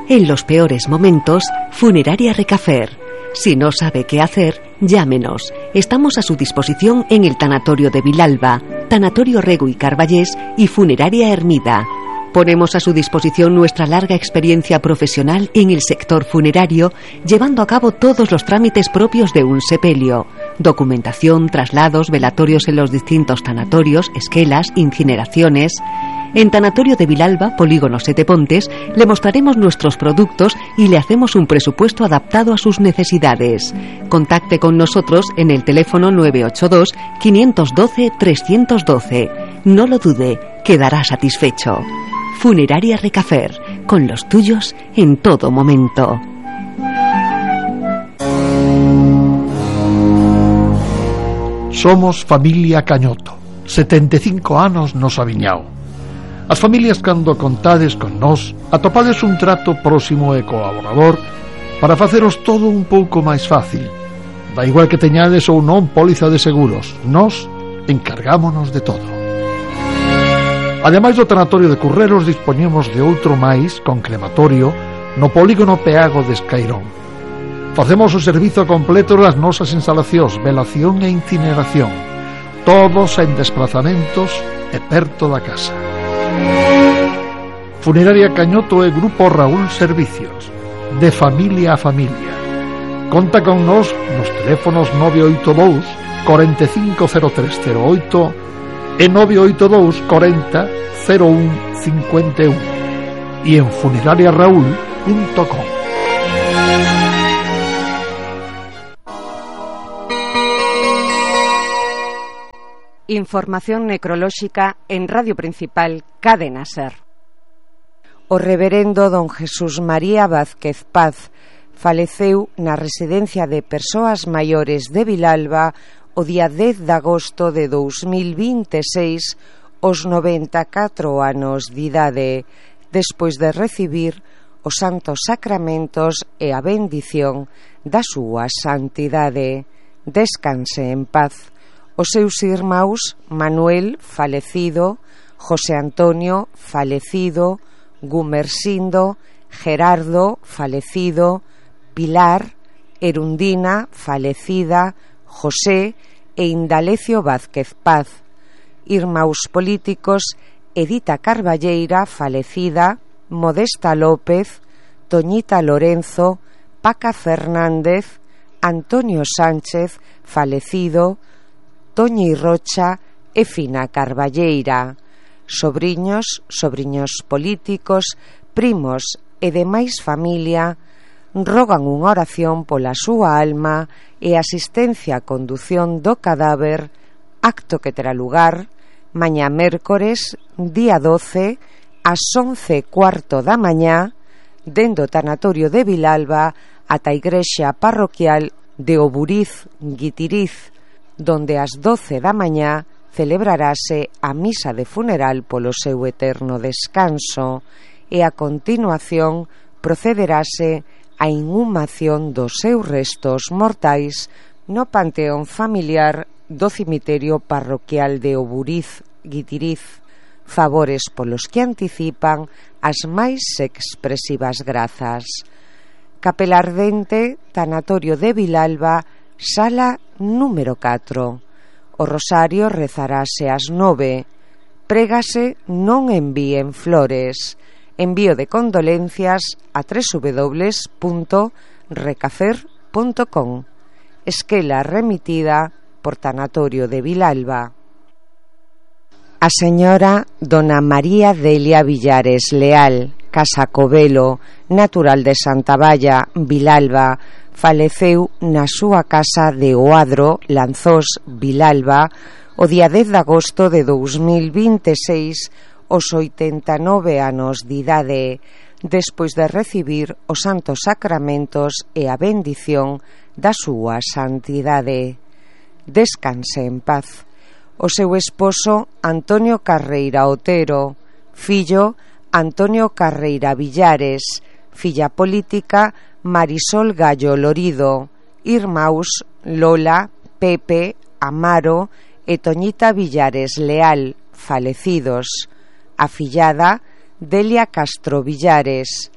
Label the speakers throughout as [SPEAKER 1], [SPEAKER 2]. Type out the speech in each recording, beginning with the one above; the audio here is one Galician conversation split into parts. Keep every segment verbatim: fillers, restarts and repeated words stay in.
[SPEAKER 1] En los peores momentos, Funeraria Recafer. Si no sabe qué hacer, llámenos. Estamos a su disposición en el Tanatorio de Vilalba, Tanatorio Rego y Carballés y Funeraria Hermida. Ponemos a su disposición nuestra larga experiencia profesional en el sector funerario, llevando a cabo todos los trámites propios de un sepelio: documentación, traslados, velatorios en los distintos tanatorios, esquelas, incineraciones. En Tanatorio de Vilalba, Polígono Sete Pontes, le mostraremos nuestros productos y le hacemos un presupuesto adaptado a sus necesidades. Contacte con nosotros en el teléfono nueve ocho dos, cinco uno dos, tres uno dos. No lo dude, quedará satisfecho. Funeraria Recafer, con los tuyos en todo momento.
[SPEAKER 2] Somos familia Cañoto, setenta e cinco anos nos aviñao. As familias, cando contades con nós, atopades un trato próximo e colaborador para faceros todo un pouco máis fácil. Da igual que teñades ou non póliza de seguros, nós encargámonos de todo. Ademais do tanatorio de Curreros, dispoñemos de outro máis con crematorio no polígono Peago de Escairón. Facemos o servizo completo das nosas instalacións, velación e incineración, todos en desplazamentos e perto da casa. Funeraria Cañoto e Grupo Raúl Servicios, de familia a familia. Conta con nós nos teléfonos nove oito dous, cuarenta e cinco cero tres cero oito e nove oito dous, cuarenta cero un cincuenta e un e en funeraria raúl punto com.
[SPEAKER 3] Información necrolóxica en Radio Principal Cadena Ser. O reverendo don Jesús María Vázquez Paz faleceu na residencia de persoas maiores de Vilalba o día dez de agosto de dous mil vinte e seis aos noventa e catro anos de idade, despois de recibir os santos sacramentos e a bendición da súa santidade. Descanse en paz. Os seus irmáns Manuel, falecido, José Antonio, falecido, Gumersindo, Gerardo, falecido, Pilar, Erundina, falecida, José e Indalecio Vázquez Paz. Irmáns políticos Edita Carballeira, falecida, Modesta López, Toñita Lorenzo, Paca Fernández, Antonio Sánchez, falecido, Toñi Rocha e Fina Carballeira. Sobriños, sobriños políticos, primos e demais familia rogan unha oración pola súa alma e asistencia a condución do cadáver, acto que terá lugar mañá mércores, día doce, ás once e cuarto da mañá, dende o tanatorio de Vilalba ata a igrexa parroquial de Oburiz, Guitiriz, donde ás doce da mañá celebrarase a misa de funeral polo seu eterno descanso e a continuación procederase a inhumación dos seus restos mortais no panteón familiar do cemiterio parroquial de Oburiz, Guitiriz. Favores polos que anticipan as máis expresivas grazas. Capela Ardente, Tanatorio de Vilalba, sala número catro. O rosario rezarase ás nove. Prégase non envíen flores. Envío de condolencias a doble u doble u doble u punto recafer punto com. Esquela remitida por Tanatorio de Vilalba. A señora dona María Delia Villares Leal, Casa Covelo, natural de Santa Valla, Vilalba, faleceu na súa casa de Oadro, Lanzós, Vilalba, o día dez de agosto de dous mil vinte e seis, aos oitenta e nove anos de idade, despois de recibir os santos sacramentos e a bendición da súa santidade. Descanse en paz. O seu esposo Antonio Carreira Otero, fillo Antonio Carreira Villares, filla política Marisol Gallo Lorido, irmáns Lola, Pepe, Amaro e Toñita Villares Leal, falecidos, afillada Delia Castro Villares,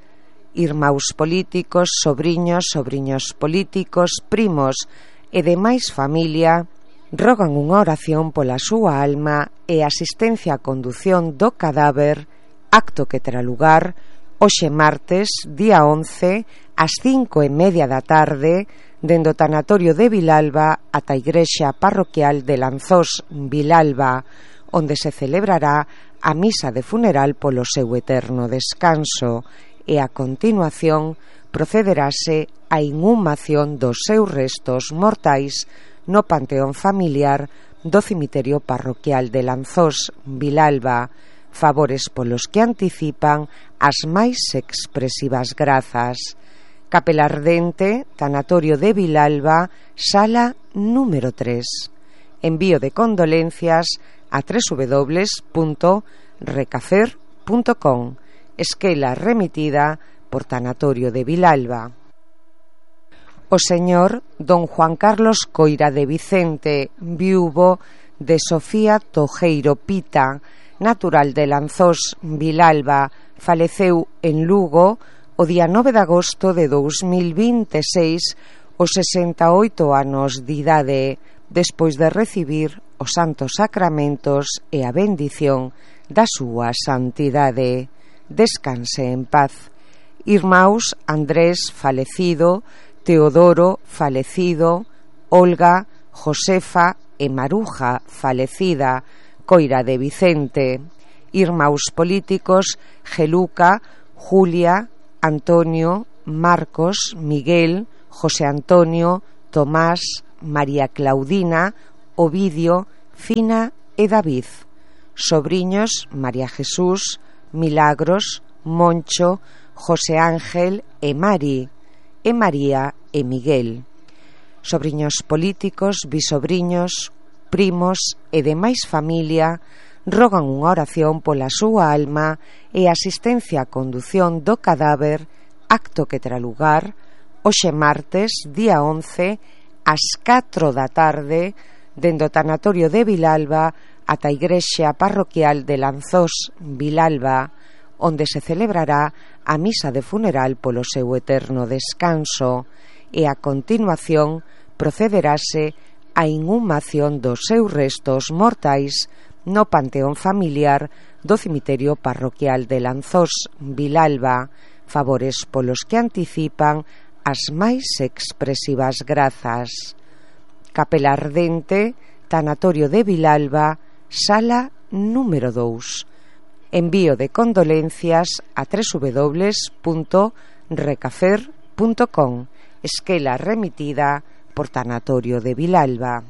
[SPEAKER 3] irmáus políticos, sobriños, sobriños políticos, primos e demais familia rogan unha oración pola súa alma e asistencia a condución do cadáver, acto que terá lugar hoxe martes, día once, ás cinco e media da tarde, dende o tanatorio de Vilalba ata a igrexa parroquial de Lanzós, Vilalba, onde se celebrará a misa de funeral polo seu eterno descanso e a continuación procederase a inhumación dos seus restos mortais no panteón familiar do cemiterio parroquial de Lanzós, Vilalba, favores polos que anticipan as máis expresivas grazas. Capela Ardente, tanatorio de Vilalba, sala número tres. Envío de condolencias a doble u doble u doble u punto recafer punto com. Esquela remitida por Tanatorio de Vilalba. O señor don Juan Carlos Coira de Vicente, viúvo de Sofía Tojeiro Pita, natural de Lanzós, Vilalba, faleceu en Lugo o día nove de agosto de dous mil vinte e seis aos sesenta e oito anos de idade, despois de recibir os santos sacramentos e a bendición da súa santidade. Descanse en paz. Irmáus Andrés, falecido, Teodoro, falecido, Olga, Josefa e Maruja, falecida, Coira de Vicente. Irmáus políticos, Geluca, Julia, Antonio, Marcos, Miguel, José Antonio, Tomás, María Claudina, Ovidio, Fina e David. Sobriños, María Jesús, Milagros, Moncho, José Ángel e Mari, e María e Miguel. Sobriños políticos, bisobriños, primos e demais familia rogan unha oración pola súa alma e asistencia a condución do cadáver, acto que terá lugar hoxe martes, día once, ás catro da tarde, dende o tanatorio de Vilalba ata a igrexa parroquial de Lanzós, Vilalba, onde se celebrará a misa de funeral polo seu eterno descanso e a continuación procederase a inhumación dos seus restos mortais no panteón familiar do cemiterio parroquial de Lanzós, Vilalba, favores polos que anticipan as máis expresivas grazas. Capela Ardente, tanatorio de Vilalba, sala número dous. Envío de condolencias a doble u doble u doble u punto recafer punto com. Esquela remitida por Tanatorio de Vilalba.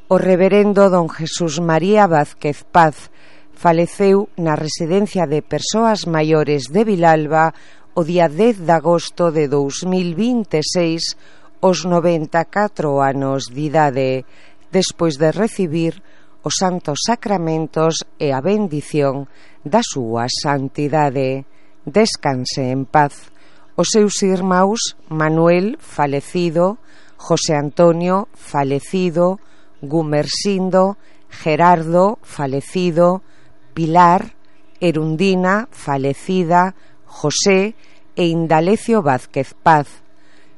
[SPEAKER 3] O reverendo don Jesús María Vázquez Paz faleceu na residencia de persoas maiores de Vilalba o día dez de agosto de dous mil vinte e seis aos noventa e catro anos de idade, despois de recibir os santos sacramentos e a bendición da súa santidade. Descanse en paz. Os seus irmáus Manuel, falecido, José Antonio, falecido, Gumersindo, Gerardo, falecido, Pilar, Erundina, falecida, José e Indalecio Vázquez Paz.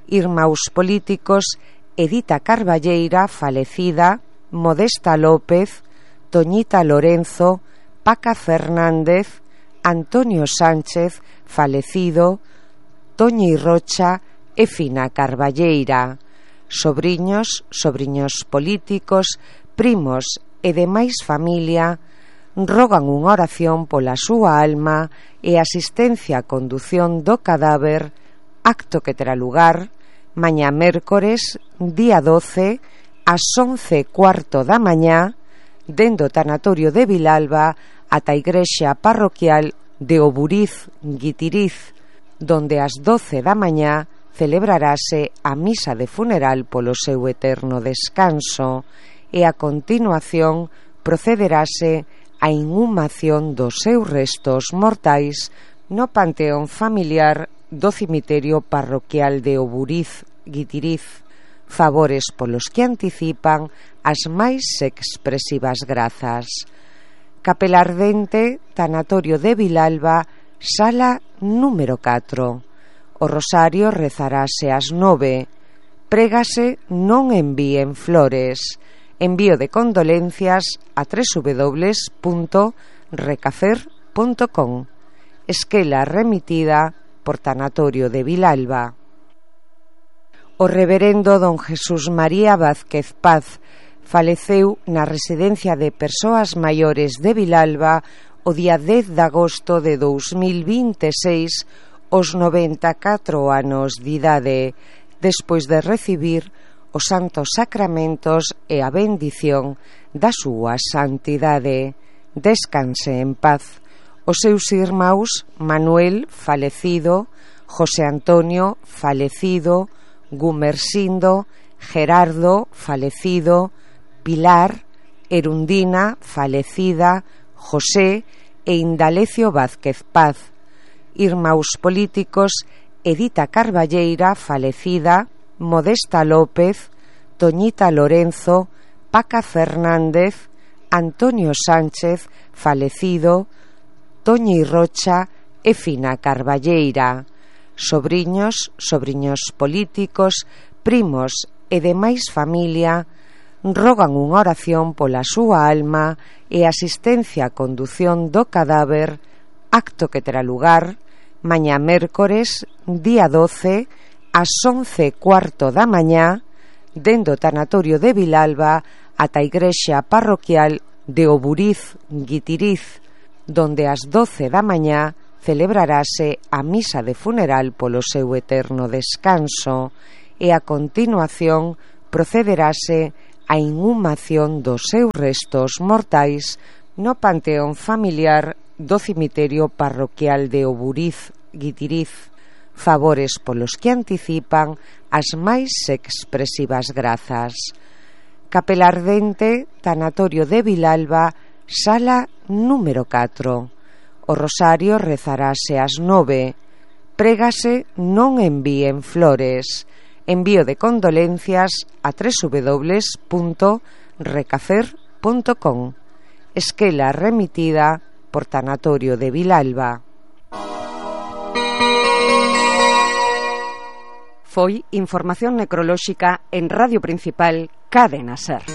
[SPEAKER 3] Irmáus políticos Edita Carballeira, falecida, Modesta López, Toñita Lorenzo, Paca Fernández, Antonio Sánchez, falecido, Toñi Rocha e Fina Carballeira. Sobriños, sobriños políticos, primos e demais familia rogan unha oración pola súa alma e asistencia a condución do cadáver, acto que terá lugar mañá mércores, día doce, ás once e cuarto da mañá, dende o tanatorio de Vilalba ata a igrexa parroquial de Oburiz, Guitiriz, donde ás doce da mañá celebrarase a misa de funeral polo seu eterno descanso e a continuación procederase a inhumación dos seus restos mortais no panteón familiar do cemiterio parroquial de Oburiz, Guitiriz, favores polos que anticipan as máis expresivas grazas. Capela Ardente, tanatorio de Vilalba, sala número catro. O rosario rezarase ás nove. Prégase non envíen flores. Envío de condolencias a doble u doble u doble u punto recafer punto com. Esquela remitida por Tanatorio de Vilalba. O reverendo don Jesús María Vázquez Paz faleceu na residencia de persoas maiores de Vilalba o día dez de agosto de dous mil vinte e seis aos noventa e catro anos de idade, despois de recibir os santos sacramentos e a bendición da súa santidade. Descanse en paz. Os seus irmáns Manuel, falecido, José Antonio, falecido, Gumersindo, Gerardo, falecido, Pilar, Erundina, falecida, José e Indalecio Vázquez Paz. Irmáns políticos Edita Carballeira, falecida, Modesta López, Toñita Lorenzo, Paca Fernández, Antonio Sánchez, falecido, Toñi Rocha e Fina Carballeira. Sobriños, sobriños políticos, primos e demais familia rogan unha oración pola súa alma e asistencia a condución do cadáver, acto que terá lugar mañá mércores, día doce, ás once e cuarto da mañá, dende o Tanatorio de Vilalba ata a igrexa parroquial de Oburiz, Guitiriz, donde ás doce da mañá celebrarase a misa de funeral polo seu eterno descanso e a continuación procederase a inhumación dos seus restos mortais no panteón familiar do cemiterio parroquial de Oburiz, Guitiriz, favores polos que anticipan as máis expresivas grazas. Capela Ardente, Tanatorio de Vilalba, sala número catro. O rosario rezarase ás nove. Prégase non envíen flores. Envío de condolencias a doble u doble u doble u punto recafer punto com. Esquela remitida por Tanatorio de Vilalba. Foi información necrolóxica en Radio Principal Cadena Ser.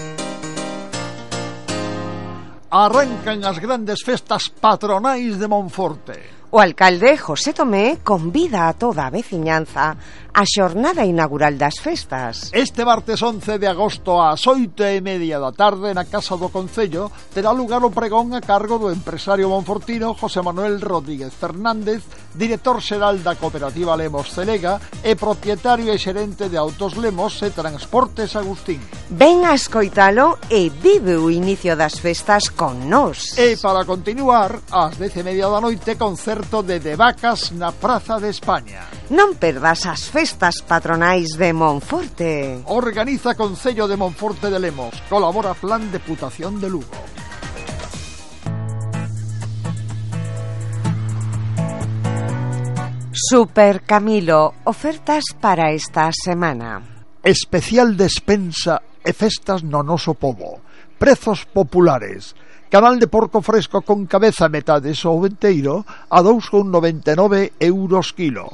[SPEAKER 2] Arrancan as grandes festas patronais de Monforte.
[SPEAKER 3] O alcalde José Tomé convida a toda a veciñanza á xornada inaugural das festas.
[SPEAKER 2] Este martes once de agosto ás oito e media da tarde na Casa do Concello terá lugar o pregón a cargo do empresario monfortino José Manuel Rodríguez Fernández, director xeral da Cooperativa Lemos Celega e propietario e xerente de Autos Lemos e Transportes Agustín.
[SPEAKER 3] Ven a escoitalo e vive o inicio das festas con nós.
[SPEAKER 2] E para continuar, ás dez e media da noite, concerto de De Vacas na Praza de España.
[SPEAKER 3] Non perdas as festas patronais de Monforte.
[SPEAKER 2] Organiza Concello de Monforte de Lemos. Colabora Plan Deputación de Lugo.
[SPEAKER 3] Super Camilo, ofertas para esta semana.
[SPEAKER 2] Especial despensa e festas no noso pobo. Prezos populares. Canal de porco fresco con cabeza metade ou enteiro a dous con noventa e nove euros kilo.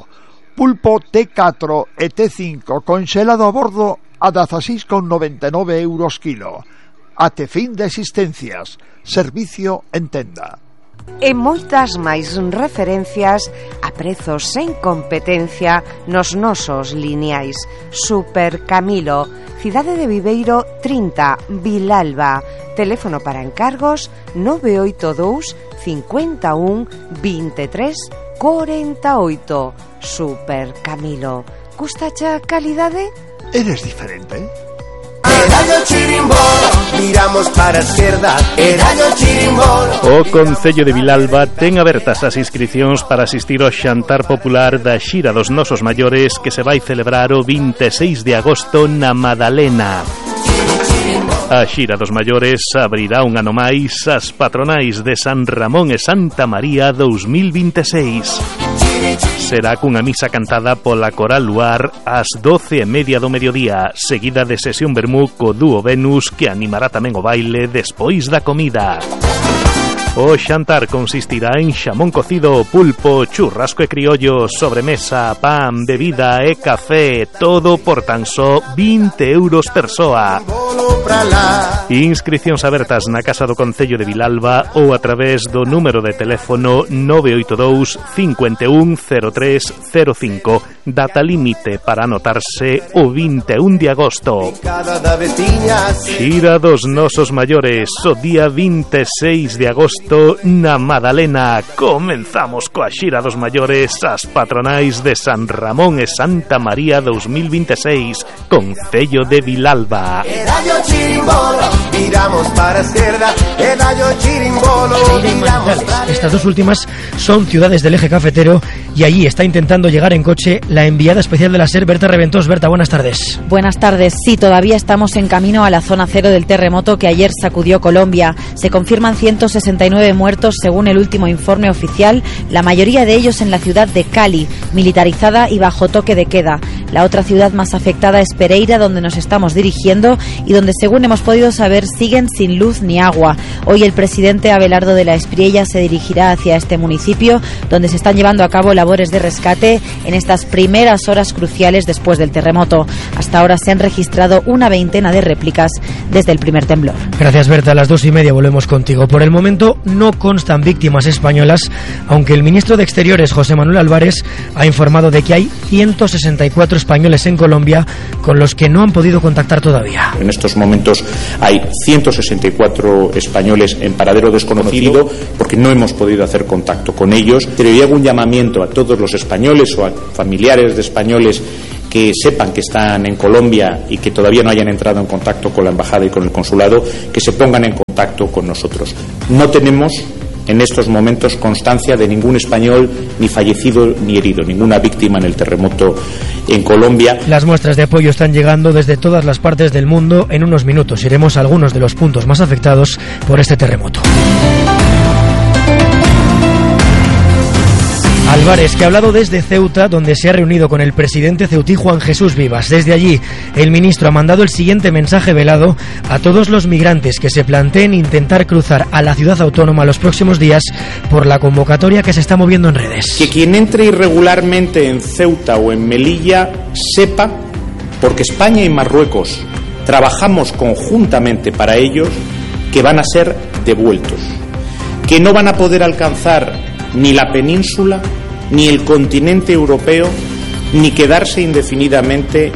[SPEAKER 2] Pulpo T catro e T cinco conxelado a bordo a dezaseis con noventa e nove euros kilo. Até fin de existencias. Servicio en tenda.
[SPEAKER 3] E moitas máis referencias a prezos sen competencia nos nosos lineais. Super Camilo, Cidade de Viveiro trinta, Vilalba. Teléfono para encargos nove oito dous, cinco un, vinte e tres, cuarenta e oito. Super Camilo. Gustacha a calidade?
[SPEAKER 2] Eres diferente?
[SPEAKER 4] Erayo Chirimbolo, miramos para a esquerda. Erayo Chirimbolo.
[SPEAKER 5] O Concello de Vilalba ten abertas as inscricións para asistir ao xantar popular da Xira dos Nosos Maiores que se vai celebrar o vinte e seis de agosto na Madalena. A Xira dos Maiores abrirá un ano máis as patronais de San Ramón e Santa María dous mil vinte e seis. Será cunha misa cantada pola Coral Luar ás doce e media do mediodía, seguida de sesión vermú co dúo Venus que animará tamén o baile despois da comida. O xantar consistirá en xamón cocido, pulpo, churrasco e criollo, sobremesa, pan, bebida e café, todo por tan só vinte euros persoa. Inscricións abertas na Casa do Concello de Vilalba ou a través do número de teléfono nove oito dous, cinco un, cero tres cero cinco. Data límite para anotarse o vinte e un de agosto. Xira dos nosos maiores o día vinte e seis de agosto na Madalena. Comenzamos coa xira dos maiores, as patronais de San Ramón e Santa María dous mil vinte e seis, Concello de Vilalba.
[SPEAKER 4] Miramos para izquierda,
[SPEAKER 6] Estas dos últimas son ciudades del eje cafetero y allí está intentando llegar en coche la enviada especial de la SER, Berta Reventós. Berta, buenas tardes.
[SPEAKER 7] Buenas tardes. Sí, todavía estamos en camino a la zona cero del terremoto que ayer sacudió Colombia. Se confirman ciento sesenta y nueve muertos según el último informe oficial, la mayoría de ellos en la ciudad de Cali, militarizada y bajo toque de queda. La otra ciudad más afectada es Pereira, donde nos estamos dirigiendo y donde, según hemos podido saber, siguen sin luz ni agua. Hoy el presidente Abelardo de la Espriella se dirigirá hacia este municipio, donde se están llevando a cabo labores de rescate en estas primeras horas cruciales después del terremoto. Hasta ahora se han registrado una veintena de réplicas desde el primer temblor.
[SPEAKER 6] Gracias, Berta. A las dos y media volvemos contigo. Por el momento no constan víctimas españolas, aunque el ministro de Exteriores, José Manuel Álvarez, ha informado de que hay ciento sesenta y cuatro españoles en Colombia con los que no han podido contactar todavía.
[SPEAKER 8] En estos momentos hay ciento sesenta y cuatro españoles en paradero desconocido porque no hemos podido hacer contacto con ellos. Pero yo hago un llamamiento a todos los españoles o a familiares de españoles que sepan que están en Colombia y que todavía no hayan entrado en contacto con la embajada y con el consulado, que se pongan en contacto con nosotros. No tenemos en estos momentos constancia de ningún español ni fallecido ni herido, ninguna víctima en el terremoto en Colombia.
[SPEAKER 6] Las muestras de apoyo están llegando desde todas las partes del mundo. En unos minutos iremos a algunos de los puntos más afectados por este terremoto. Álvarez, que ha hablado desde Ceuta, donde se ha reunido con el presidente ceutí Juan Jesús Vivas. Desde allí, el ministro ha mandado el siguiente mensaje velado a todos los migrantes que se planteen intentar cruzar a la ciudad autónoma los próximos días por la convocatoria que se está moviendo en redes.
[SPEAKER 8] Que quien entre irregularmente en Ceuta o en Melilla sepa, porque España y Marruecos trabajamos conjuntamente para ellos, que van a ser devueltos, que no van a poder alcanzar ni la península, ni el continente europeo, ni quedarse indefinidamente.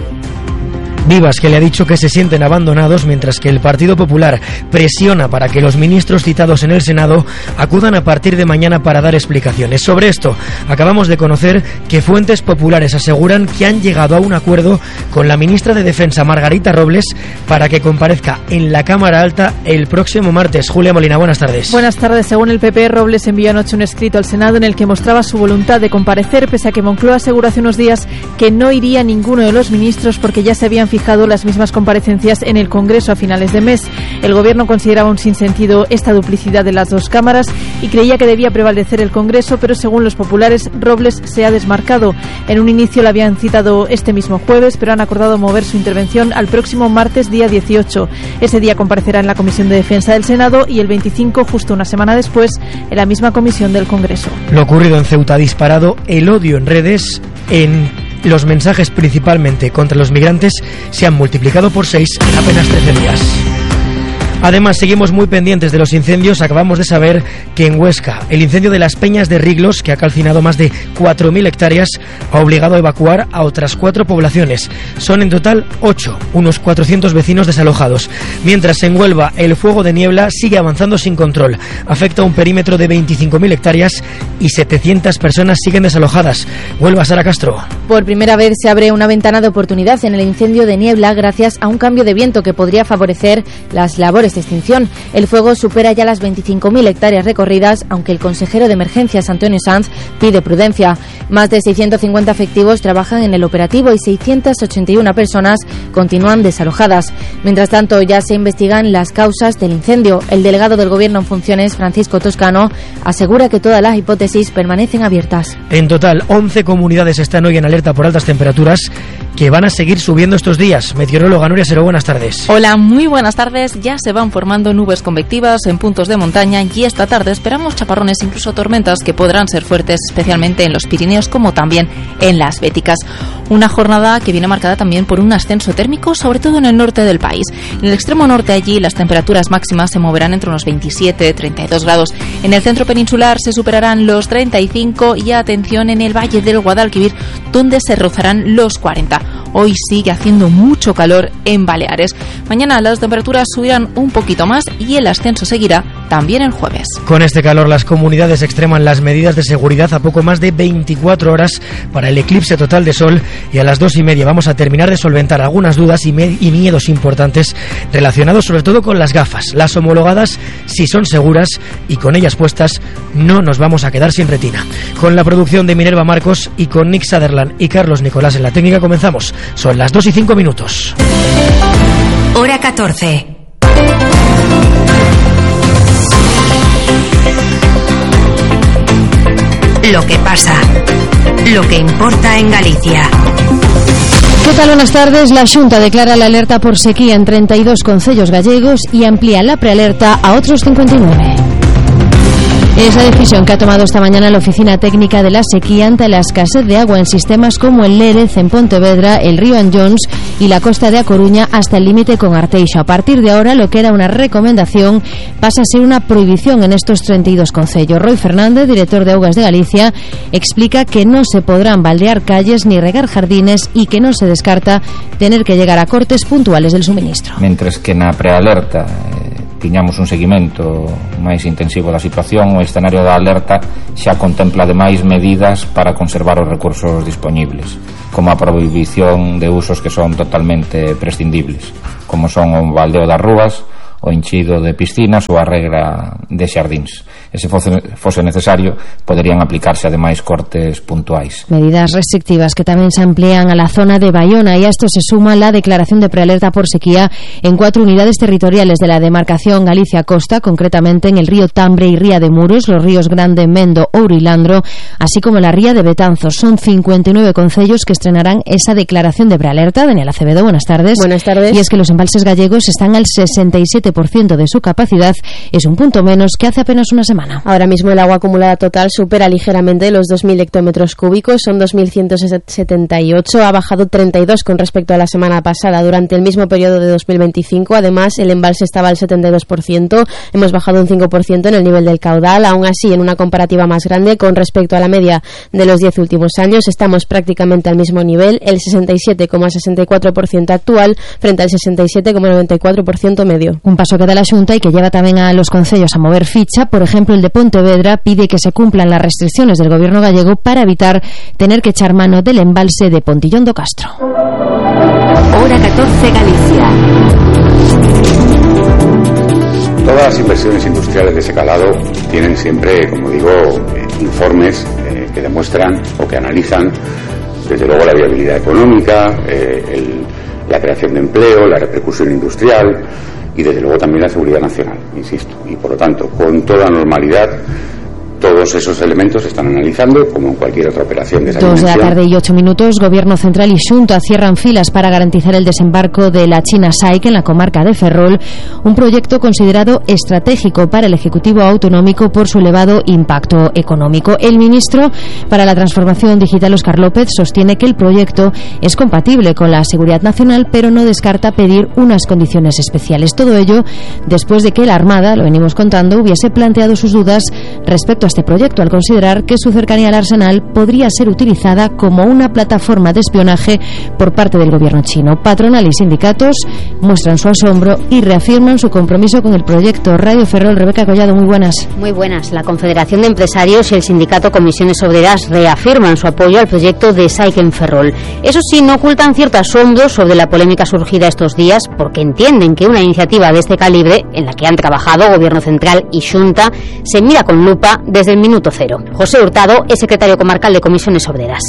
[SPEAKER 6] Vivas, que le ha dicho que se sienten abandonados, mientras que el Partido Popular presiona para que los ministros citados en el Senado acudan a partir de mañana para dar explicaciones. Sobre esto, acabamos de conocer que fuentes populares aseguran que han llegado a un acuerdo con la ministra de Defensa, Margarita Robles, para que comparezca en la Cámara Alta el próximo martes. Julia Molina, buenas tardes.
[SPEAKER 9] Buenas tardes. Según el P P, Robles envió anoche un escrito al Senado en el que mostraba su voluntad de comparecer, pese a que Moncloa aseguró hace unos días que no iría ninguno de los ministros porque ya se habían fijado las mismas comparecencias en el Congreso a finales de mes. El Gobierno consideraba un sinsentido esta duplicidad de las dos cámaras y creía que debía prevalecer el Congreso, pero según los populares, Robles se ha desmarcado. En un inicio la habían citado este mismo jueves, pero han acordado mover su intervención al próximo martes, día dieciocho. Ese día comparecerá en la Comisión de Defensa del Senado y el veinticinco, justo una semana después, en la misma comisión del Congreso.
[SPEAKER 6] Lo ocurrido en Ceuta ha disparado el odio en redes. En los mensajes principalmente contra los migrantes se han multiplicado por seis en apenas trece días. Además, seguimos muy pendientes de los incendios. Acabamos de saber que en Huesca, el incendio de las Peñas de Riglos, que ha calcinado más de cuatro mil hectáreas, ha obligado a evacuar a otras cuatro poblaciones. Son en total ocho, unos cuatrocientos vecinos desalojados. Mientras en Huelva, el fuego de niebla sigue avanzando sin control. Afecta a un perímetro de veinticinco mil hectáreas y setecientas personas siguen desalojadas. Huelva, Sara Castro.
[SPEAKER 10] Por primera vez se abre una ventana de oportunidad en el incendio de niebla gracias a un cambio de viento que podría favorecer las labores de extinción. El fuego supera ya las veinticinco mil hectáreas recorridas, aunque el consejero de emergencias, Antonio Sanz, pide prudencia. Más de seiscientos cincuenta efectivos trabajan en el operativo y seiscientas ochenta y una personas continúan desalojadas. Mientras tanto, ya se investigan las causas del incendio. El delegado del Gobierno en funciones, Francisco Toscano, asegura que todas las hipótesis permanecen abiertas.
[SPEAKER 6] En total, once comunidades están hoy en alerta por altas temperaturas que van a seguir subiendo estos días. Meteoróloga Nuria Seró, buenas tardes.
[SPEAKER 11] Hola, muy buenas tardes. Ya se van formando nubes convectivas en puntos de montaña y esta tarde esperamos chaparrones, incluso tormentas, que podrán ser fuertes, especialmente en los Pirineos como también en las Béticas. Una jornada que viene marcada también por un ascenso térmico, sobre todo en el norte del país. En el extremo norte, allí las temperaturas máximas se moverán entre unos veintisiete y treinta y dos grados. En el centro peninsular se superarán los treinta y cinco y atención en el valle del Guadalquivir, donde se rozarán los cuarenta. Hoy sigue haciendo mucho calor en Baleares. Mañana las temperaturas subirán un poquito más y el ascenso seguirá también el jueves.
[SPEAKER 6] Con este calor, las comunidades extreman las medidas de seguridad a poco más de veinticuatro horas para el eclipse total de sol, y a las dos y media vamos a terminar de solventar algunas dudas y, me- y miedos importantes relacionados sobre todo con las gafas. Las homologadas si son seguras, y con ellas puestas no nos vamos a quedar sin retina. Con la producción de Minerva Marcos y con Nick Sutherland y Carlos Nicolás en la técnica comenzamos. Son las dos y cinco minutos.
[SPEAKER 12] Hora catorce. Lo que pasa, lo que importa en Galicia.
[SPEAKER 10] ¿Qué tal? Buenas tardes. La Xunta declara la alerta por sequía en treinta y dos concellos gallegos y amplía la prealerta a otros cincuenta y nueve. Es la decisión que ha tomado esta mañana la Oficina Técnica de la Sequía ante la escasez de agua en sistemas como el Lérez, en Pontevedra, el río Anllóns y la costa de A Coruña hasta el límite con Arteixo. A partir de ahora, lo que era una recomendación pasa a ser una prohibición en estos treinta y dos concellos. Roy Fernández, director de Augas de Galicia, explica que no se podrán baldear calles ni regar jardines y que no se descarta tener que llegar a cortes puntuales del suministro.
[SPEAKER 13] Mentres que na prealerta eh, tiñamos un seguimento máis intensivo da situación, o escenario da alerta xa contempla ademais medidas para conservar os recursos dispoñibles, como a prohibición de usos que son totalmente prescindibles, como son o baldeo das rúas, o enchido de piscinas ou a regra de xardíns. E se fose, fose necesario, poderían aplicarse ademais cortes puntuais.
[SPEAKER 10] Medidas restrictivas que tamén se amplían a la zona de Bayona, y a esto se suma la declaración de prealerta por sequía en cuatro unidades territoriales de la demarcación Galicia-Costa, concretamente en el río Tambre y Ría de Muros, los ríos Grande, Mendo, Ouro y Landro, así como la ría de Betanzos. Son cincuenta y nueve concellos que estrenarán esa declaración de prealerta. Daniela Acevedo, buenas tardes.
[SPEAKER 14] Buenas tardes.
[SPEAKER 10] Y es que los embalses gallegos están al sesenta y siete por ciento de su capacidad, es un punto menos que hace apenas una semana.
[SPEAKER 14] Ahora mismo el agua acumulada total supera ligeramente los dos mil hectómetros cúbicos, son dos mil ciento setenta y ocho, ha bajado treinta y dos con respecto a la semana pasada. Durante el mismo periodo de dos mil veinticinco, además, el embalse estaba al setenta y dos por ciento, hemos bajado un cinco por ciento en el nivel del caudal. Aún así, en una comparativa más grande con respecto a la media de los diez últimos años, estamos prácticamente al mismo nivel, el sesenta y siete coma sesenta y cuatro por ciento actual frente al sesenta y siete coma noventa y cuatro por ciento medio.
[SPEAKER 10] Un paso que da la Xunta y que lleva también a los concellos a mover ficha. Por ejemplo, el de Pontevedra pide que se cumplan las restricciones del gobierno gallego para evitar tener que echar mano del embalse de Pontillón do Castro.
[SPEAKER 12] Hora catorce Galicia.
[SPEAKER 15] Todas las inversiones industriales de ese calado tienen siempre, como digo, eh, informes eh, que demuestran o que analizan desde luego la viabilidad económica, eh, el, la creación de empleo, la repercusión industrial y desde luego también la seguridad nacional, insisto. Y por lo tanto, con toda normalidad, todos esos elementos se están analizando como en cualquier otra operación de esa
[SPEAKER 10] Dos de la
[SPEAKER 15] dimensión.
[SPEAKER 10] tarde y ocho minutos, Gobierno Central y Xunta cierran filas para garantizar el desembarco de la China Saik en la comarca de Ferrol, un proyecto considerado estratégico para el Ejecutivo Autonómico por su elevado impacto económico. El ministro para la Transformación Digital, Óscar López, sostiene que el proyecto es compatible con la seguridad nacional, pero no descarta pedir unas condiciones especiales. Todo ello después de que la Armada, lo venimos contando, hubiese planteado sus dudas respecto a este proyecto, al considerar que su cercanía al arsenal podría ser utilizada como una plataforma de espionaje por parte del gobierno chino. Patronal y sindicatos muestran su asombro y reafirman su compromiso con el proyecto. Radio Ferrol, Rebeca Collado, muy buenas.
[SPEAKER 16] Muy buenas. La Confederación de Empresarios y el sindicato Comisiones Obreras reafirman su apoyo al proyecto de Saik en Ferrol. Eso sí, no ocultan cierto asombro sobre la polémica surgida estos días, porque entienden que una iniciativa de este calibre, en la que han trabajado Gobierno Central y Xunta, se mira con lupa desde el minuto cero. José Hurtado es secretario comarcal de Comisiones Obreras.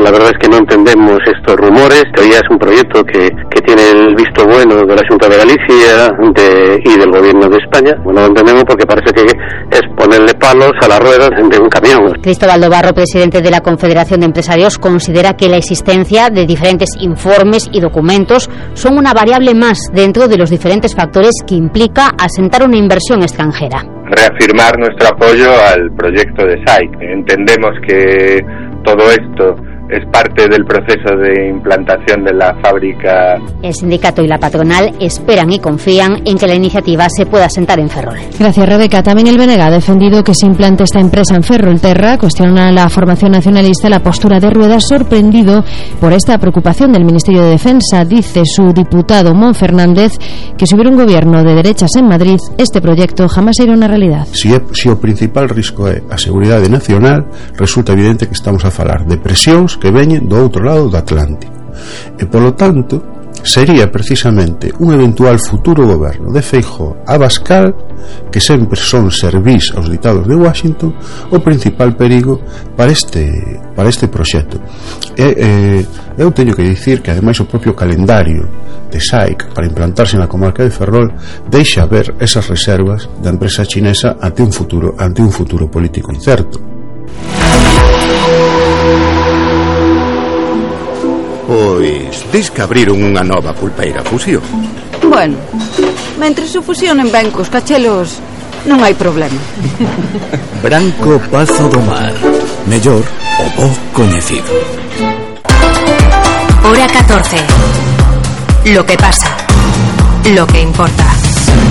[SPEAKER 17] La verdad es que no entendemos estos rumores. Todavía es un proyecto que, que tiene el visto bueno de la Xunta de Galicia de, y del Gobierno de España. Bueno, lo entendemos porque parece que es ponerle palos a las ruedas de un camión.
[SPEAKER 16] Cristóbal Dobarro, presidente de la Confederación de Empresarios, considera que la existencia de diferentes informes y documentos son una variable más dentro de los diferentes factores que implica asentar una inversión extranjera.
[SPEAKER 18] Reafirmar nuestro apoyo al proyecto de S A I C. Entendemos que todo esto es parte del proceso de implantación de la fábrica.
[SPEAKER 16] El sindicato y la patronal esperan y confían en que la iniciativa se pueda asentar en Ferrol.
[SPEAKER 10] Gracias, Rebeca. También el B N G ha defendido que se implante esta empresa en Ferrolterra. Cuestiona a la formación nacionalista la postura de Rueda, sorprendido por esta preocupación del Ministerio de Defensa. Dice su diputado Mon Fernández que si hubiera un gobierno de derechas en Madrid, este proyecto jamás sería una realidad.
[SPEAKER 19] Si, é, si o principal risco é a seguridade nacional, resulta evidente que estamos a falar de presións que veñen do outro lado do Atlántico e, polo tanto, sería precisamente un eventual futuro goberno de Feijóo Abascal, que sempre son servís aos ditados de Washington, o principal perigo para este para este proxecto. E, eh, eu teño que dicir que ademais o propio calendario de S A I C para implantarse na comarca de Ferrol deixa ver esas reservas da empresa chinesa ante un futuro ante un futuro político incerto.
[SPEAKER 20] Pois, dis que abriron unha nova pulpeira fusión.
[SPEAKER 21] Bueno, mentre se fusionen ben cos cachelos, non hai problema.
[SPEAKER 20] Branco Pazo do Mar, mellor o bo coñecido.
[SPEAKER 12] Hora catorce. Lo que pasa, lo que importa.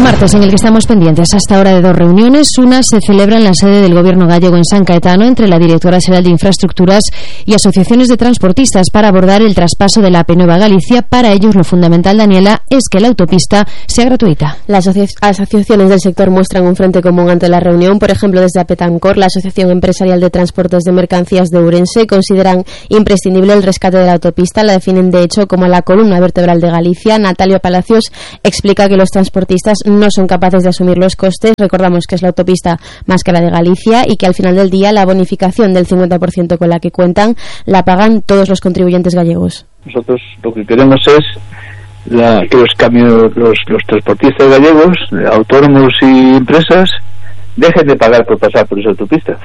[SPEAKER 10] Martes en el que estamos pendientes hasta ahora de dos reuniones. Una se celebra en la sede del Gobierno gallego en San Caetano entre la Directora Xeral de Infraestructuras y asociaciones de transportistas para abordar el traspaso de la A P nueve a Galicia. Para ellos lo fundamental, Daniela, es que la autopista sea gratuita.
[SPEAKER 14] Las asociaciones del sector muestran un frente común ante la reunión. Por ejemplo, desde Apetancor, la Asociación Empresarial de Transportes de Mercancías de Ourense, consideran imprescindible el rescate de la autopista. La definen de hecho como la columna vertebral de Galicia. Natalia Palacios explica que los transportistas no son capaces de asumir los costes. Recordamos que es la autopista más cara de Galicia y que al final del día la bonificación del cincuenta por ciento con la que cuentan la pagan todos los contribuyentes gallegos.
[SPEAKER 22] Nosotros lo que queremos es la, que los, camiones, los, los transportistas gallegos, autónomos y empresas, dejen de pagar por pasar por esa autopista,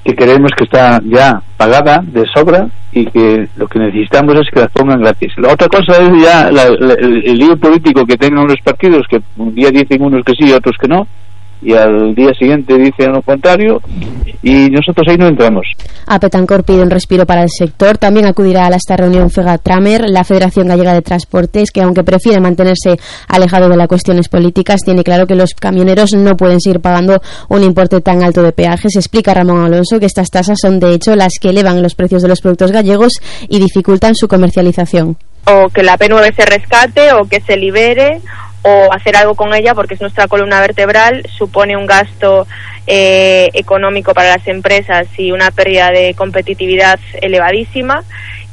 [SPEAKER 22] que creemos que está ya pagada de sobra y que lo que necesitamos es que las pongan gratis. La otra cosa es ya la, la, el, el lío político que tengan los partidos, que un día dicen unos que sí y otros que no, y al día siguiente dicen lo contrario, y nosotros ahí no entramos.
[SPEAKER 14] Apetancor pide un respiro para el sector. También acudirá a esta reunión Fegatramer, la Federación Gallega de Transportes, que aunque prefiere mantenerse alejado de las cuestiones políticas, tiene claro que los camioneros no pueden seguir pagando un importe tan alto de peajes. Explica Ramón Alonso que estas tasas son de hecho las que elevan los precios de los productos gallegos y dificultan su comercialización.
[SPEAKER 23] O que la A P nueve se rescate o que se libere, o hacer algo con ella porque es nuestra columna vertebral, supone un gasto eh, económico para las empresas y una pérdida de competitividad elevadísima.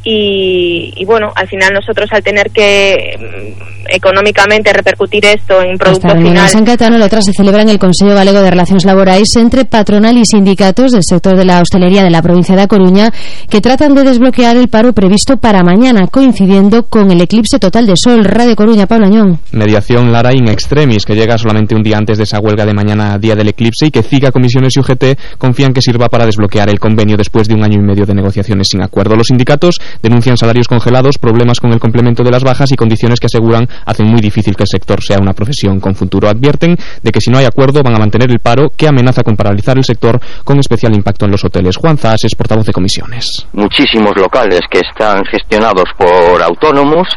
[SPEAKER 23] Y, y bueno, al final nosotros al tener que mm, económicamente repercutir esto en producto final.
[SPEAKER 10] En San Caetano, la otra se celebra en el Consello Galego de Relacións Laborais entre patronal y sindicatos del sector de la hostelería de la provincia de A Coruña, que tratan de desbloquear el paro previsto para mañana, coincidiendo con el eclipse total de sol. Radio Coruña, Pablo Añón.
[SPEAKER 24] Mediación Lara in extremis, que llega solamente un día antes de esa huelga de mañana, día del eclipse, y que CIGA, Comisiones y U G T confían que sirva para desbloquear el convenio después de un año y medio de negociaciones sin acuerdo. Los sindicatos denuncian salarios congelados, problemas con el complemento de las bajas y condiciones que aseguran hacen muy difícil que el sector sea una profesión con futuro. Advierten de que si no hay acuerdo van a mantener el paro, que amenaza con paralizar el sector, con especial impacto en los hoteles. Juan Zas es portavoz de Comisiones.
[SPEAKER 25] Muchísimos locales que están gestionados por autónomos,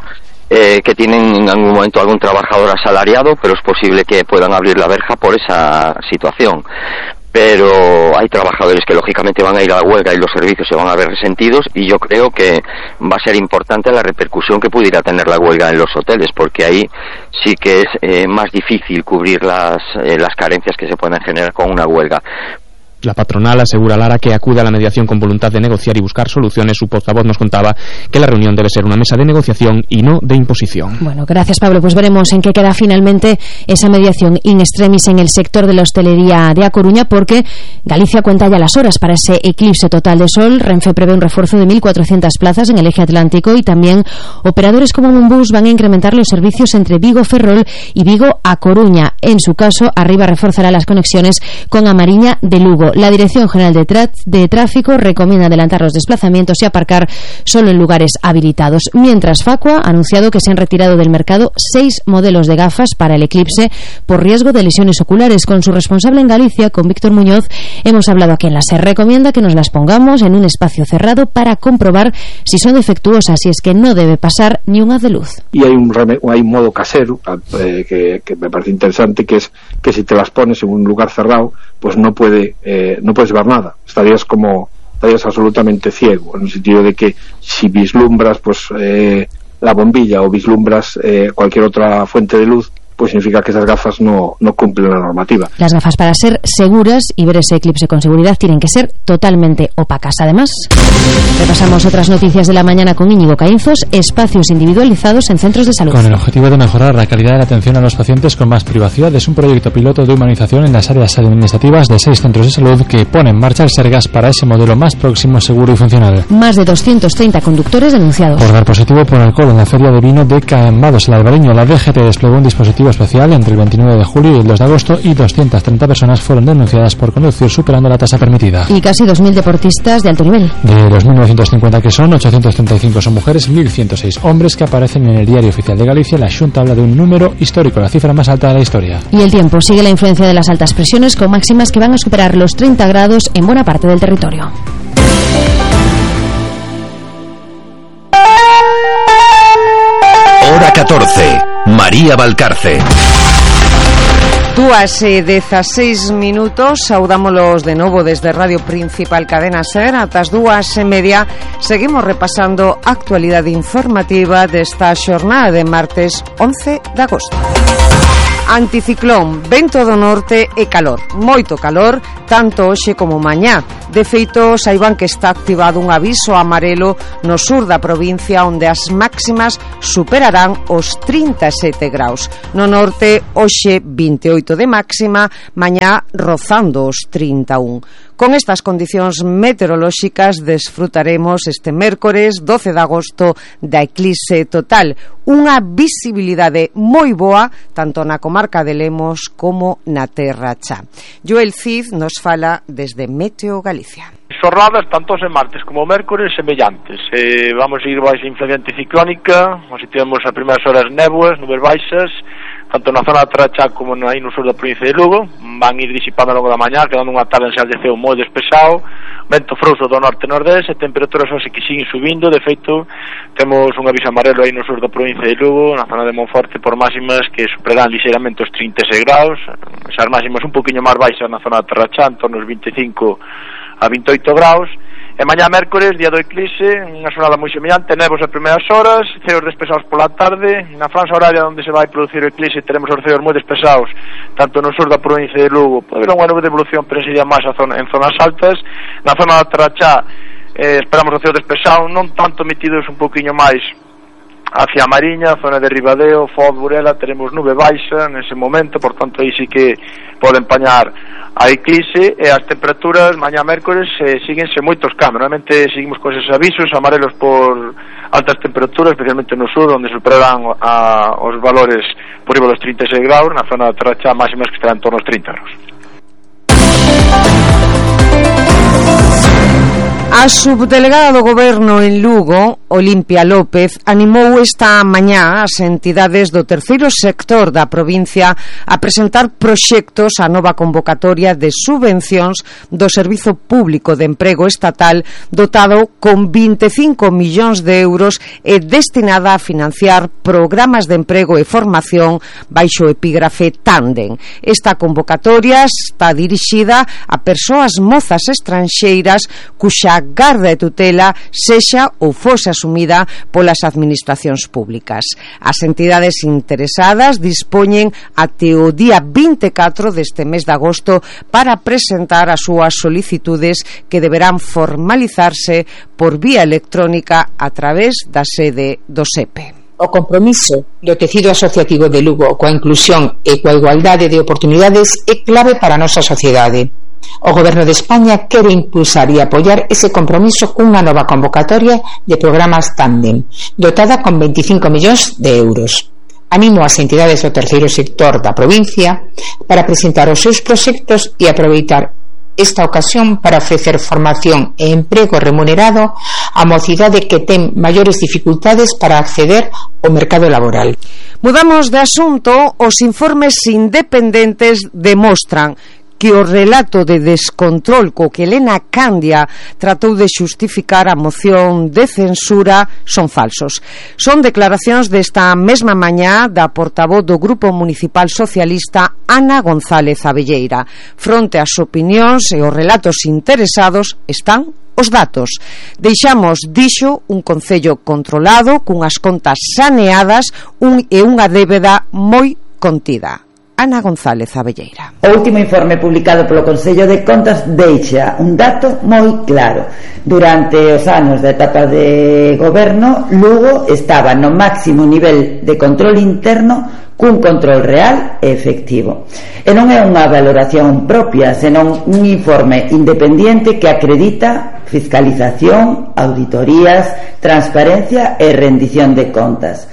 [SPEAKER 25] eh, que tienen en algún momento algún trabajador asalariado, pero es posible que puedan abrir la verja por esa situación. Pero hay trabajadores que lógicamente van a ir a la huelga y los servicios se van a ver resentidos, y yo creo que va a ser importante la repercusión que pudiera tener la huelga en los hoteles, porque ahí sí que es eh, más difícil cubrir las, eh, las carencias que se pueden generar con una huelga.
[SPEAKER 24] La patronal asegura, Lara, que acude a la mediación con voluntad de negociar y buscar soluciones. Su portavoz nos contaba que la reunión debe ser una mesa de negociación y no de imposición.
[SPEAKER 1] Bueno, gracias, Pablo. Pues veremos en qué queda finalmente esa mediación in extremis en el sector de la hostelería de A Coruña, porque Galicia cuenta ya las horas para ese eclipse total de sol. Renfe prevé un refuerzo de mil cuatrocientas plazas en el eje atlántico y también operadores como Monbus van a incrementar los servicios entre Vigo-Ferrol y Vigo-A Coruña. En su caso, Arriba reforzará las conexiones con Amariña de Lugo. La Dirección General de, Tra- de Tráfico recomienda adelantar los desplazamientos y aparcar solo en lugares habilitados. Mientras, Facua ha anunciado que se han retirado del mercado seis modelos de gafas para el eclipse por riesgo de lesiones oculares. Con su responsable en Galicia, con Víctor Muñoz, hemos hablado aquí en la SER. Recomienda que nos las pongamos en un espacio cerrado para comprobar si son defectuosas, y es que no debe pasar ni un haz de luz.
[SPEAKER 2] Y hay un, reme- hay un modo casero eh, que, que me parece interesante, que es que si te las pones en un lugar cerrado, pues no puede eh, no puedes ver nada, estarías como estarías absolutamente ciego, en el sentido de que si vislumbras pues eh, la bombilla o vislumbras eh, cualquier otra fuente de luz, pues significa que esas gafas no, no cumplen la normativa.
[SPEAKER 1] Las gafas, para ser seguras y ver ese eclipse con seguridad, tienen que ser totalmente opacas. Además, repasamos otras noticias de la mañana con Íñigo Caínzos: espacios individualizados en centros de salud.
[SPEAKER 3] Con el objetivo de mejorar la calidad de la atención a los pacientes con más privacidad, es un proyecto piloto de humanización en las áreas administrativas de seis centros de salud que pone en marcha el Sergas para ese modelo más próximo, seguro y funcional.
[SPEAKER 1] Más de doscientos treinta conductores denunciados
[SPEAKER 3] por dar positivo por alcohol en la feria de vino de Cambados, el Albariño. La D G T desplegó un dispositivo especial entre el veintinueve de julio y el dos de agosto y doscientas treinta personas fueron denunciadas por conducir superando la tasa permitida.
[SPEAKER 1] Y casi dos mil deportistas de alto nivel.
[SPEAKER 3] De los mil novecientos cincuenta que son, ochocientos treinta y cinco son mujeres, mil ciento seis hombres que aparecen en el Diario Oficial de Galicia. La Xunta habla de un número histórico, la cifra más alta de la historia.
[SPEAKER 1] Y el tiempo sigue la influencia de las altas presiones, con máximas que van a superar los treinta grados en buena parte del territorio.
[SPEAKER 20] Hora catorce. María Valcarce.
[SPEAKER 4] Dúas e dezaseis minutos, saudámolos de novo desde Radio Principal Cadena SER. Atas dúas e media seguimos repasando a actualidade informativa desta xornada de martes once de agosto. Anticiclón, vento do norte e calor, moito calor, tanto hoxe como mañá. De feito, saiban que está activado un aviso amarelo no sur da provincia, onde as máximas superarán os trinta e sete graus. No norte, hoxe vinte e oito de máxima, mañá rozando os trinta e un. Con estas condicións meteorolóxicas desfrutaremos este mércores doce de agosto da eclipse total, unha visibilidade moi boa tanto na comarca de Lemos como na Terra Cha. Joel Cid nos fala desde Meteo Galicia.
[SPEAKER 5] Xornadas tanto en martes como mércores semellantes. Eh, vamos a ir baixa influencia anticiclónica, así temos as primeiras horas néboas, nubes baixas, tanto na zona de Trachá como aí no sur da provincia de Lugo. Van ir disipando ao longo da mañá, quedando unha tarde en Sal de Ceo moi despexado, vento frouxo do norte-nordeste, e temperaturas hoxe que siguen subindo. De feito, temos un aviso amarelo aí no sur da provincia de Lugo, na zona de Monforte, por máximas que superarán lixeiramente os trinta e seis graus, esas máximas un poquinho máis baixas na zona de Trachá, en torno aos vinte e cinco a vinte e oito graus. E mañá mércores, día do eclipse, unha xornada moi semellante, nevos as primeiras horas, ceos despesados pola tarde. Na franja horaria onde se vai producir o eclipse teremos os ceos moi despesados, tanto no sur da provincia de Lugo, pode haber unha nube de evolución, pero sería máis a zona, en zonas altas. Na zona da Trachá eh, esperamos os ceos despesados, non tanto metidos un poquinho máis hacia a Mariña, zona de Ribadeo, Foz, Burela, teremos nube baixa nese momento, por tanto aí sí que pode empañar a eclipse. E as temperaturas mañá mércores eh, síguense moitos cambios. Normalmente seguimos con esos avisos amarelos por altas temperaturas, especialmente no sur, onde superarán a, os valores por riba dos trinta e seis graus, na zona de Trachá máximas que estarán en torno aos trinta graus.
[SPEAKER 4] A subdelegada do Goberno en Lugo, Olimpia López, animou esta mañá as entidades do terceiro sector da provincia a presentar proxectos á nova convocatoria de subvencións do Servizo Público de Emprego Estatal, dotado con vinte e cinco millóns de euros e destinada a financiar programas de emprego e formación baixo o epígrafe Tandem. Esta convocatoria está dirixida a persoas mozas estranxeiras cuxa esa garda e tutela sexa ou fose asumida polas administracións públicas. As entidades interesadas dispoñen até o día vinte e catro deste mes de agosto para presentar as súas solicitudes, que deberán formalizarse por vía electrónica a través da sede do S E P E.
[SPEAKER 6] O compromiso do tecido asociativo de Lugo coa inclusión e coa igualdade de oportunidades é clave para a nosa sociedade. O Goberno de España quere impulsar e apoiar ese compromiso cunha nova convocatoria de programas Tándem, dotada con veinticinco millóns de euros. Animo as entidades do terceiro sector da provincia para presentar os seus proxectos e aproveitar esta ocasión para ofrecer formación e emprego remunerado á mocidade que ten maiores dificultades para acceder ao mercado laboral.
[SPEAKER 4] Mudamos de asunto. Os informes independentes demostran que o relato de descontrol co que Elena Candia tratou de xustificar a moción de censura son falsos. Son declaracións desta mesma mañá da portavoz do Grupo Municipal Socialista, Ana González Abelleira. Fronte ás opinións e os relatos interesados están os datos. Deixamos, dixo, un concello controlado, cunhas contas saneadas un, e unha débeda moi contida. Ana González Abelleira.
[SPEAKER 7] O último informe publicado polo Consello de Contas deixa un dato moi claro. Durante os anos da etapa de goberno, Lugo estaba no máximo nivel de control interno, cun control real e efectivo. E non é unha valoración propia, senón un informe independiente que acredita fiscalización, auditorías, transparencia e rendición de contas.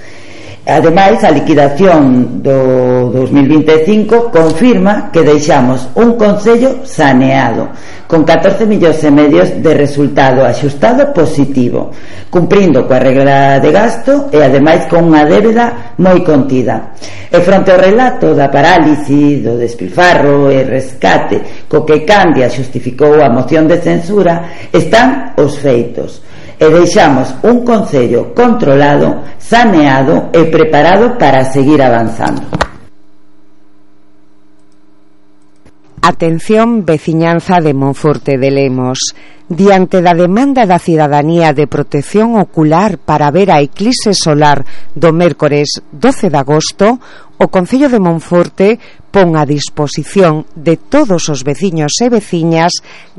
[SPEAKER 7] Ademais, a liquidación do dos mil vinte e cinco confirma que deixamos un concello saneado, con catorce millóns e medios de resultado axustado positivo, cumprindo coa regla de gasto e ademais con unha débeda moi contida. E fronte ao relato da parálise, do despilfarro e rescate co que Candia xustificou a moción de censura, están os feitos. E deixamos un concello controlado, saneado e preparado para seguir avanzando.
[SPEAKER 4] Atención, veciñanza de Monforte de Lemos. Diante da demanda da cidadanía de protección ocular para ver a eclipse solar do mércores doce de agosto, o Concello de Monforte pon a disposición de todos os veciños e veciñas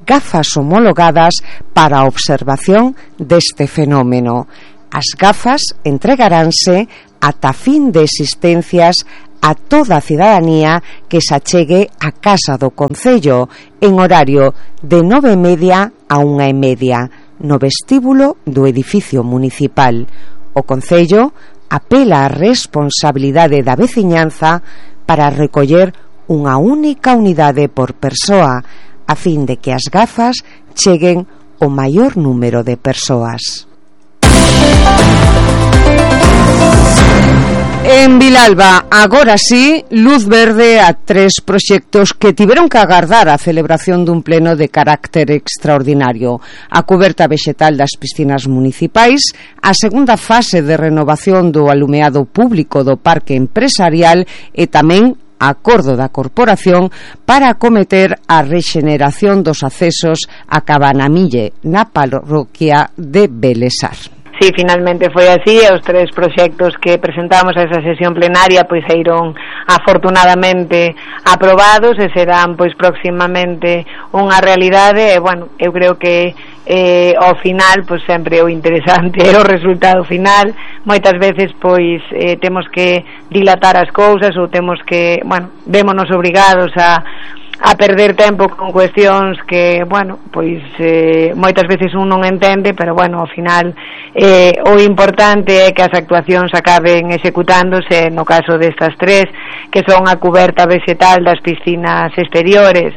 [SPEAKER 4] gafas homologadas para a observación deste fenómeno. As gafas entregaránse ata fin de existencias a toda a cidadanía que se achegue á casa do Concello en horario de nove e media a unha e media no vestíbulo do edificio municipal. O Concello apela á responsabilidade da veciñanza para recoller unha única unidade por persoa, a fin de que as gafas cheguen ao maior número de persoas. En Vilalba, agora sí, luz verde a tres proxectos que tiveron que agardar a celebración dun pleno de carácter extraordinario: a cuberta vexetal das piscinas municipais, a segunda fase de renovación do alumeado público do parque empresarial e tamén acordo da corporación para acometer a rexeneración dos accesos a Cabanamille na parroquia de Belesar.
[SPEAKER 8] Sí, finalmente foi así, e os tres proxectos que presentamos a esa sesión plenaria pois eiron afortunadamente aprobados e serán pois próximamente unha realidade. E bueno, eu creo que eh, ao final pois sempre o interesante é o resultado final. Moitas veces pois eh, temos que dilatar as cousas ou temos que, bueno, vémonos obrigados a a perder tempo con cuestións que, bueno, pois eh, moitas veces un non entende, pero bueno, ao final eh, o importante é que as actuacións acaben executándose. No caso destas tres, que son a cuberta vexetal das piscinas exteriores,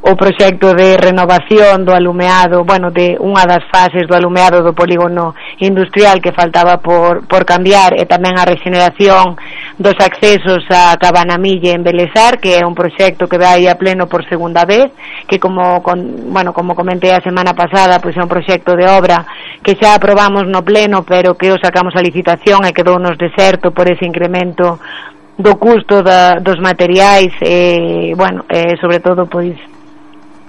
[SPEAKER 8] o proxecto de renovación do alumeado, bueno, de unha das fases do alumeado do polígono industrial que faltaba por, por cambiar, e tamén a rexeneración dos accesos a Cabanamille en Belesar, que é un proxecto que vai a pleno por segunda vez, que como, con, bueno, como comentei a semana pasada, pois é un proxecto de obra que xa aprobamos no pleno, pero que o sacamos a licitación e quedounos deserto por ese incremento do custo da, dos materiais e, bueno, e sobre todo, pois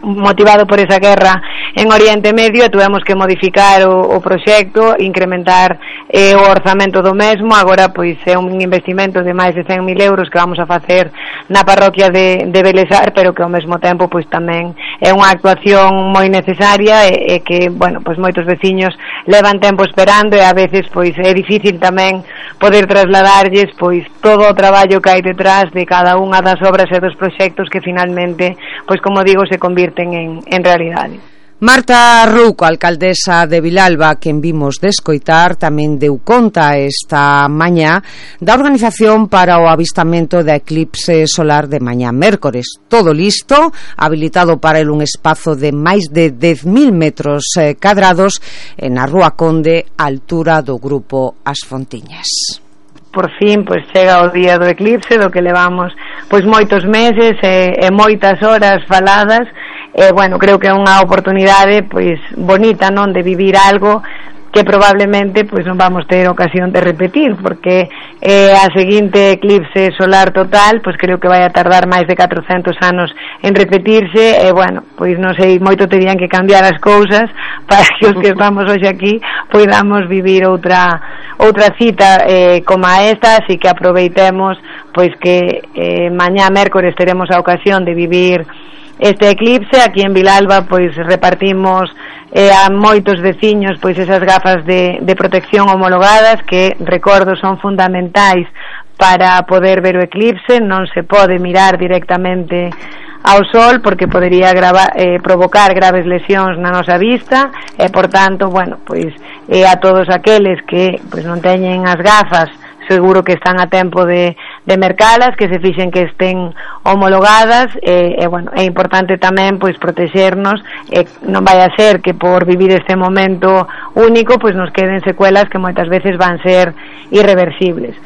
[SPEAKER 8] motivado por esa guerra en Oriente Medio, e tuvemos que modificar o, o proxecto, incrementar eh, o orzamento do mesmo. Agora pois é un investimento de máis de cen mil euros que vamos a facer na parroquia de, de Belesar, pero que ao mesmo tempo pois tamén é unha actuación moi necesaria e, e que, bueno, pois moitos veciños levan tempo esperando, e a veces pois é difícil tamén poder trasladarlles pois todo o traballo que hai detrás de cada unha das obras e dos proxectos que finalmente, pois como digo, se convirten en, en realidade.
[SPEAKER 4] Marta Ruco, alcaldesa de Vilalba, quen vimos de escoitar, tamén deu conta esta mañá da organización para o avistamento da eclipse solar de mañá mércores. Todo listo, habilitado para el un espazo de máis de dez mil metros eh, cadrados na Rúa Conde, altura do grupo As Fontiñas.
[SPEAKER 8] Por fin, pois chega o día do eclipse, do que levamos pois moitos meses e, e moitas horas faladas. E, bueno, creo que é unha oportunidade pois bonita, non, de vivir algo que probablemente pois non vamos ter ocasión de repetir, porque eh, a seguinte eclipse solar total pois creo que vai a tardar máis de catrocentos anos en repetirse, e bueno, pois non sei, moito terían que cambiar as cousas para que os que estamos hoxe aquí podamos vivir outra outra cita eh, como a esta, así que aproveitemos pois que eh, mañá mércores teremos a ocasión de vivir este eclipse. Aquí en Vilalba pois repartimos eh, a moitos veciños pois esas gafas de, de protección homologadas que, recordo, son fundamentais para poder ver o eclipse. Non se pode mirar directamente ao sol porque podería grava, eh, provocar graves lesións na nosa vista, e por tanto, bueno, pois eh, a todos aqueles que pois non teñen as gafas, seguro que están a tempo de, de mercalas, que se fixen que estén homologadas, e, e bueno, é importante tamén pois protexernos, e non vai a ser que por vivir este momento único pois nos queden secuelas que moitas veces van ser irreversibles.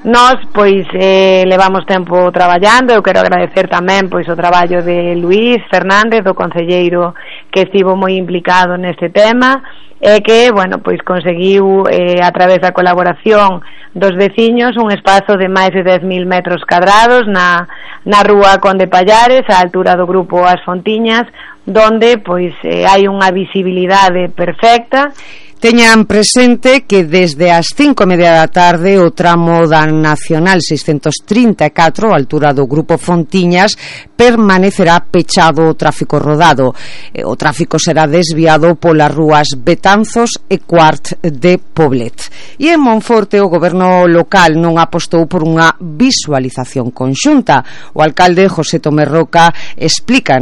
[SPEAKER 8] Nós, pois, eh, levamos tempo traballando. Eu quero agradecer tamén pois o traballo de Luís Fernández, do concelleiro que estivo moi implicado neste tema, e que, bueno, pois conseguiu eh, a través da colaboración dos veciños un espazo de máis de dez mil metros cadrados na, na Rúa Conde Pallares, á altura do grupo As Fontiñas, donde pois eh, hai unha visibilidade perfecta.
[SPEAKER 4] Teñan presente que desde as cinco e media da tarde o tramo da Nacional seiscentos trinta e catro, a altura do grupo Fontiñas, permanecerá pechado o tráfico rodado. O tráfico será desviado polas rúas Betanzos e Cuart de Poblet. E en Monforte o goberno local non apostou por unha visualización conxunta. O alcalde José Tomé Roca explica